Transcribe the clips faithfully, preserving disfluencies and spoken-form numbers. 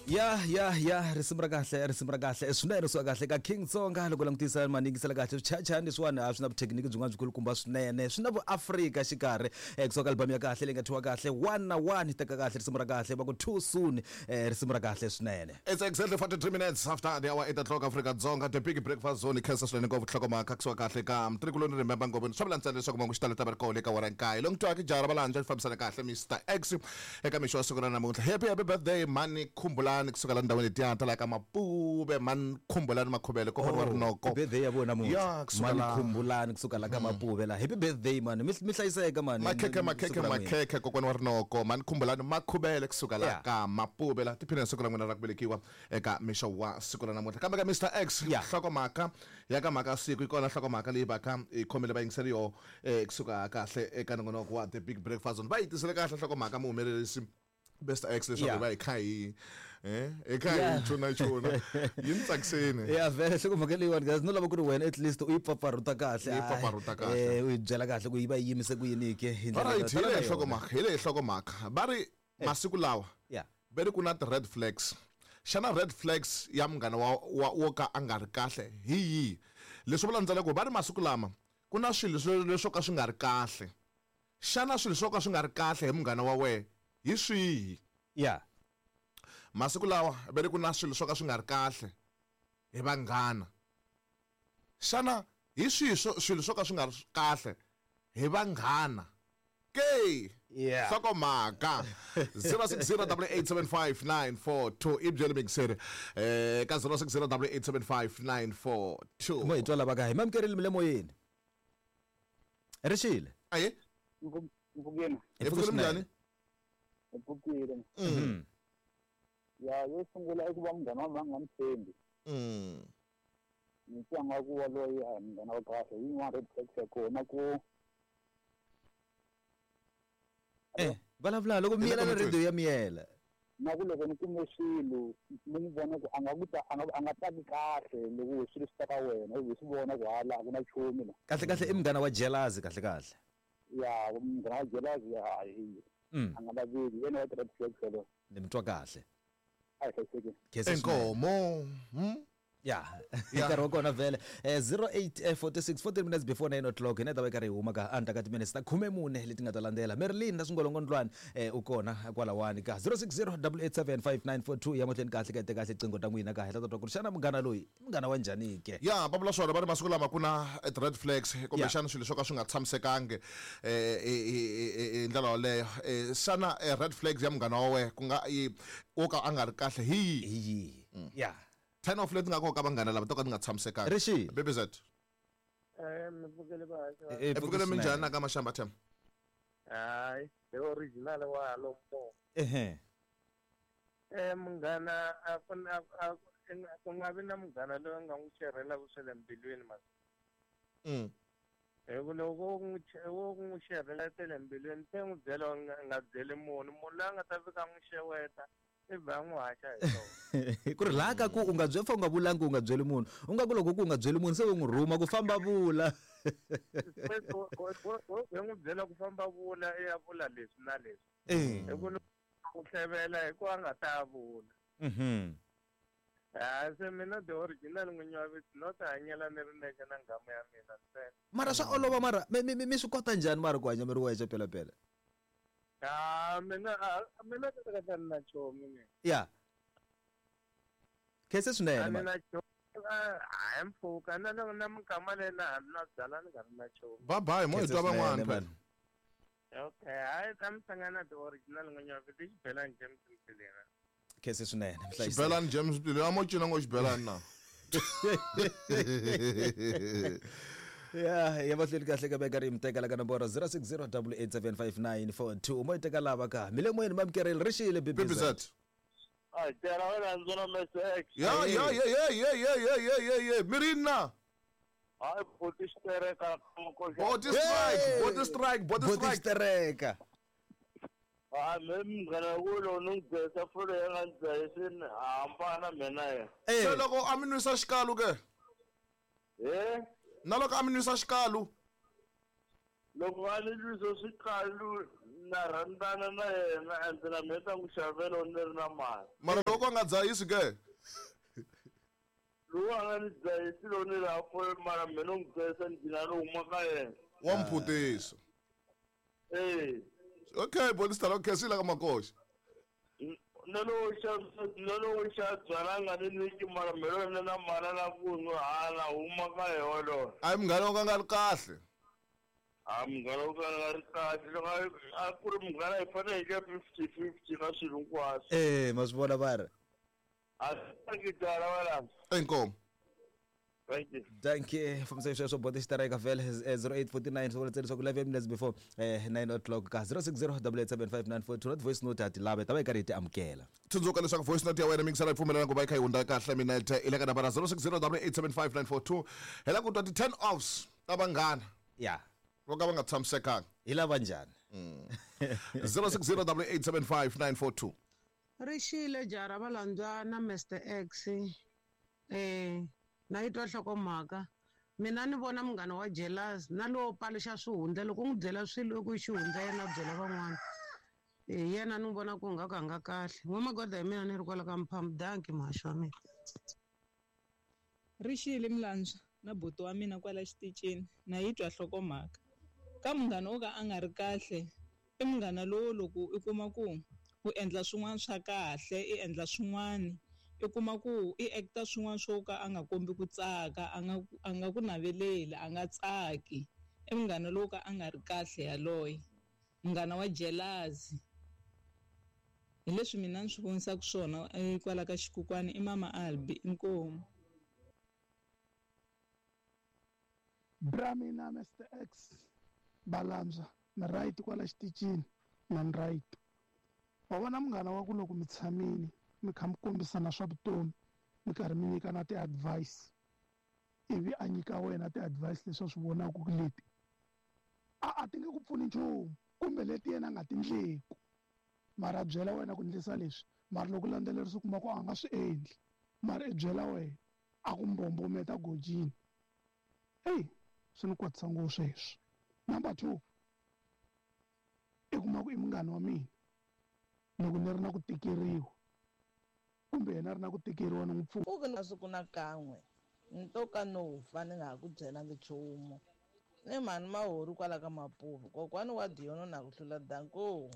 Ya ya ya risimu ra kahle risimu ra kahle swinene swa kahle ka King Tsonga loko langutisa maningisela kahle swichachani leswiwani a swi na vuthekiniki byin'wana byikulukumba swinene swi na vuafrika xikarhi kusuka album ya kahle leyi nga thyiwa kahle one na one teka kahle risimu ra kahle va ku too soon risimu ra kahle swinene. It's exactly forty-three minutes after the hour eight o'clock Africa Dzonga the big breakfast zone khensa swinene ngopfu nhlokomhaka kusuka kahle ka mtrikuloni remember ngopfu swa vula ntsena leswaku mangu xitalo ta va ri kona eka wara nkaye longo twaka jara valanja fambisana kahle Mister X eka mixo wa siku ra namuntlha. Happy happy birthday mani khumbulani kusuka la ndhawini letiya ta la ka Mapube mani khumbulani makhubele kokwana wa Rinoko birthday ya vona namuntlha mani khumbulani kusuka la ka Mapube la happy birthday mani mi hlayiseka mani makhekhe makhekhe makhekhe kokwana wa Rinoko mani khumbulani makhubele kusuka la ka Mapube la tiphina siku ra n'wina ra ku velekiwa eka mixo wa siku ra namuntlha. Kambe ka Mister X nhlokomhaka ya ka mhaka siku yi kona nhlokomhaka leyi va ka yi khomele vayingiseri yo kusuka kahle eka nongonoko wa the big breakfast zone va yi tisele kahle nhlokomhaka muhumelerisi Best X leswaku va hi kha hi eh eka hi chuna chuna yi ni tsakisini ya vele nhlokomhaka leyiwani guys no lava ku ri wena at least u yi pfapfarhuta kahle yi pfapfarhuta kahle eh u yi byela kahle ku yi va yi yimise ku yini ke hi ndlela right hi leyi nhlokomhaka hi leyi nhlokomhaka va ri masiku lawa va ri ku na ti-red flags. Xana red flags ya munghana wa wo ka a nga ri kahle hi yihi? Leswi vula ntsena ku va ri masiku lama ku na swilo leswo ka swi nga ri kahle. Xana swilo swo ka swi nga ri kahle hi munghana wa wena hi swihi? Ya masiku lawa va ri ku na swilo swo ka swi nga ri kahle hi vanghana. Xana hi swihi swilo swo ka swi nga ri kahle hi vanghana? Ke nhlokomhaka zero six zero double eight seven five nine four two i byele mixere eh ka zero six zero double eight seven five nine four two mo hi twa lava ka hi mamkerile mi le moyeni rixile aye mpfukeni hi pfukile minjhani hi pfukile ya yo sungula i ku va munghana wa mina a nga ni tshembi ni twa nga ku wa loyi a hi munghana wa kahle yin'wana red flags ya kona ku eh vulavula loko miyela na radio ya miyela na ku loko ni kume swilo ni n'wi vona ku a nga ku ta a nga a nga tsaki kahle loko swilo swi ta ka wena u swi vona ku hala a ku na nchumu la kahle kahle i munghana wa jealousy kahle kahle ya munghana wa jealousy ya a nga laveki yena wa red flags yaloyo ni mi twa kahle a hi hlayisekile inkomo ya nkarhi wa kona vhele zero eight forty-six fourteen minutes before nine o'clock hina ta va karhi hi huma ka endzhaku ka timinetse ta khume mune leti nga ta landzela Marilyn na swingolongondlwani u kona kwalawani ka zero six zero double eight seven five nine four two ya mahlweni kahle ka kahle qingho ta n'wina ka hi ta twa ku ri xana munghana loyi i munghana wa njhani ke ya va vula swona va ri masiku lama ku na red flags kumbexana swilo swo ka swi nga tshamisekangi hi ndlela yoleyo xana red flags ya munghana wa wena ku nga wo ka a nga ri kahle hi yihi yihi ya ten of leti nga koka vanghana lava to ka ti nga tshamisekanga Rixi B B Z eh mi pfukele va e pfukele minjhani na ka Mashamba Them hayi the original wa lomo ehe eh munghana a ku na ku nga vi na munghana loyi nga n'wi xerhelaka swa le mbilwini mas mm hi ku loko wo n'wi wo n'wi xerhela ta le mbilwini se n'wi byela nga byeli munhu munhu loyi a nga ta fika n'wi xeweta i va n'wi haxa hi swona ku ri laha ka ku u nga byeli fa u nga vulangi u nga byeli munhu u nga ku loko ku u nga byeli munhu se u n'wi rhuma ku famba vula u n'wi byela ku famba vula i ya vula leswi na leswi hi ku ku hlevela hi ku a nga ta vula ha se mina the original n'winyi wa vito no ti hanyela ni ri nexe na nghamu ya mina ntsena mara swa olova mara mi mi mi swi kota njhani mara ku hanya mi ri wexe pelapela Ah, mina mina ka ka na chomi mina. Ya. Khensa swinene ma. Mina chomi a mpfuka na na na minkama leyi na ha na byala ni nga ri na chomi. Bye bye mo hi twa van'wana phela. Okay, hayi ta mi hlangana the original n'winyi wa vito Xibelani James Mtilina. Khensa swinene. Xibelani James Mtilina a mo cina ngo Xibelani na. Ya ya mahlweni kahle ka veka ri mteka la ka nomboro zero six zero double eight seven five nine four two mo teka lava ka mi le moyeni mamkereli rixile B B Z a tera wena ndzona Mister X ya ya ya ya ya ya ya ya ya ya mirina hayi boti xitereka boti strike boti strike boti strike xitereka a me munghana wulo ni byesa folo ya nga ndzayisini hambana mina ye se loko a mi nwisa xikalu ke eh na loko a mi nwisa xikalu Loko a ni twisa swikalu na rhandzana na yena ende na mina ta n'wi xavela ni ri na mali. Mara loko a nga dzahisi ke? Lowu a nga ni dzahisi lowu ni ri hafu mara mina n'wi dzahisa ni gcina ni huma ka yena. Wa mphutisa. Eh. Okay, Bolista, okay, swi la ka makoxa. Na lowu xa na lowu xa byala nga ni nyiki mara mina ni na mali la ku n'wi hala huma ka yona. A hi munghana wo ka nga ri kahle. A munghana wo ka nga ri kahle loko a ku ri munghana hi fanele hi ka fifty fifty ka swilo hinkwaswo. Eh, ma swi vona va ri. A swi tala wala. Inkomu. Thank you. Thank you. Fambisa sweswo boti xitereka vhele zero eight forty-nine swi vula leswaku eleven minutes before eh nine o'clock ka zero six zero double eight seven five nine four two not voice note a ti lava ta va yi karhi yi ti amukela. Tsundzuka leswaku voice note ya wena mingisela yi pfumelela ku va yi kha yi hundza kahle minete i le ka nambara zero six zero double eight seven five nine four two hi la ku twa ti-ten offs ta vanghana. Ya. Vo ka va nga tshamisekanga. Hi lava njhani? zero six zero double eight seven five nine four two. Rixile jara va landzana Mister X eh na yi twa nhlokomhaka mina ni vona munghana wa jealous na lowo paluxa swihundla loko u n'wi byela swilo ku xihundla yena a byela van'wana hi yena ni vona ku nga ka nga kahle n'wamagoda hi mina ni ri kwala ka mphamu danki muhaxi wa mina. Rixile milandzwa na buti wa mina kwala xitichini na yi twa nhlokomhaka ka munghana wo ka a nga ri kahle i munghana lowo loko i kuma ku u endla swin'wana swa kahle i endla swin'wana i kuma ku i acta swin'wana swo ka a nga kombi ku tsaka a nga a nga ku naveleli a nga tsaki i munghana lowo ka a nga ri kahle yaloye munghana wa jealousy hi leswi mina ni swi vonisaka swona kwala ka xikukwani i mama Albi inkomu. Bra mina Mister X balanza na right kwala xitichini na ni right wa vona munghana wa ku loko mi tshamile mi kha mi kombisana swa vutomi mi karhi mi nyikana ti-advice ivi a nyika wena ti-advice leswi a swi vonaka ku leti a a ti nge ku pfuni nchumu kumbe leti yena a nga ti ndleku mara a byela wena ku ndlisa leswi mara loko landzelerisa u kuma ku a nga swi endli mara i byela wena a ku mbombometa gojini eyi swi ni kwatisa ngopfu sweswo. Number two i kuma ku i munghana wa mina loko ni ri na ku tikeriwa kumbe yena ri na ku tikeriwa ni n'wi pfuna. Ku na siku na kan'we ni to ka no fa ni nga ha ku byelangi nchumu ni mhani Mahori kwala ka Mapuve kokwani wa Diono na ku hlula danko.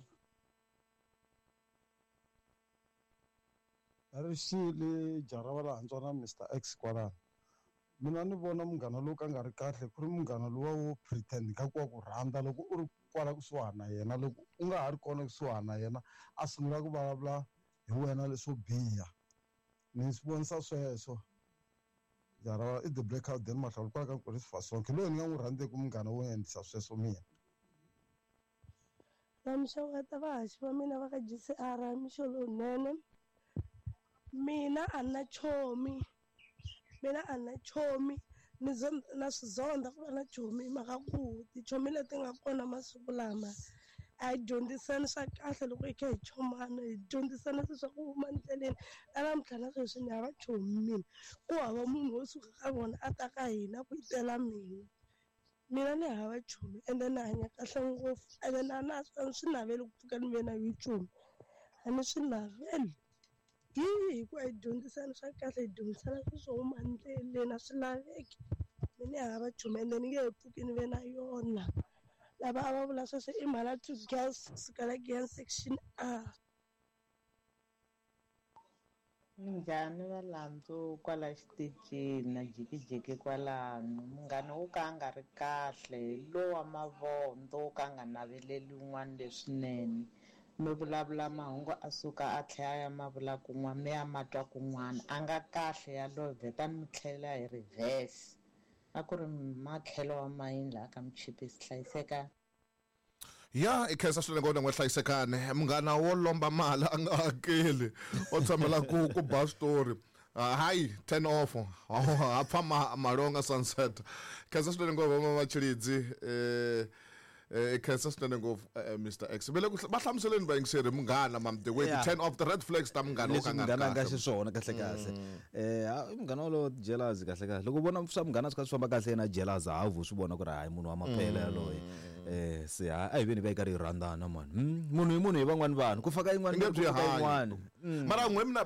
Rixile jara va landzwa na Mister X kwalano mina ni vona munghana lowu ka nga ri kahle ku ri munghana luwa wo pretend ka ku wa ku rhandza loko u ri kwala kusuhana na yena loko u nga ha ri kona kusuhana na yena a sungula ku vulavula hi wena leswo biha ni swi vonisa sweswo jara i the blackout then mahlawula kwala ka Nkosi Fasonke loyi ni nga n'wi rhandzeki munghana wo endlisa sweswo mina. Na mixeweta vahaxi va mina va ka G C R mixo lowunene mina a na chomi mina a na chomi ni na swi zonda ku va na chomi hi mhaka ku tichomi leti nga kona masiku lama a hi dyondzisani swa kahle loko hi kha hi chomana hi dyondzisana swilo swa ku huma ndleleni na namuntlha na sweswi ni hava chomi mina ku hava munhu wo suka ka vona a ta ka hina ku itela mina mina ni hava chomi ende ni hanya kahle ngopfu ende na na a swi naveli ku pfuka ni ve na yo chomi a ni swi naveli hi hi ku a hi dyondzisana swa kahle hi dyondzisana swilo swo huma ndleleni a swi laveki mina ni hava chomi ende ni nge he pfuki ni ve na yona. Lava a va vula sweswo i mhana two girls kusukela Giyani section A. Minjhani valandzu kwala xitichini na jikijiki kwalano munghana wo ka a nga ri kahle hi lowa mavondzo wo ka a nga naveleli un'wana leswinene mi vulavula mahungu a suka a tlhela ya ma vula kun'wana mi ya ma twa kun'wana a nga kahle yaloye vhetani mi tlhela hi reverse a ku ri makhelo wa mayini laha ka Muchipisi hlayisekani. Ya i khensa swinene ngopfu n'we hlayisekani munghana wo lomba mali a nga hakeli o tshamela ku ku ba switori hayi ten off ha pfa malonga sunset khensa swinene ngopfu va Machilidzi eh eh khensa swinene ngopfu Mister X vele ku va hlamuseleni vayingiseri munghana mam the way the ten off the red flags ta munghana wo ka nga munghana nga xiswona kahle kahle eh munghana wolowo jealous kahle kahle loko u vona swa munghana swi kha swi famba kahle yena jealous ha vu swi vona ku ri hayi munhu wa maphela yaloye. Eh se a hi veni va yi karhi yi rhandzana mani. Munhu hi munhu hi van'wani vanhu ku faka yin'wana Inge ku byi faka hanyi. yin'wana. Mara n'we mina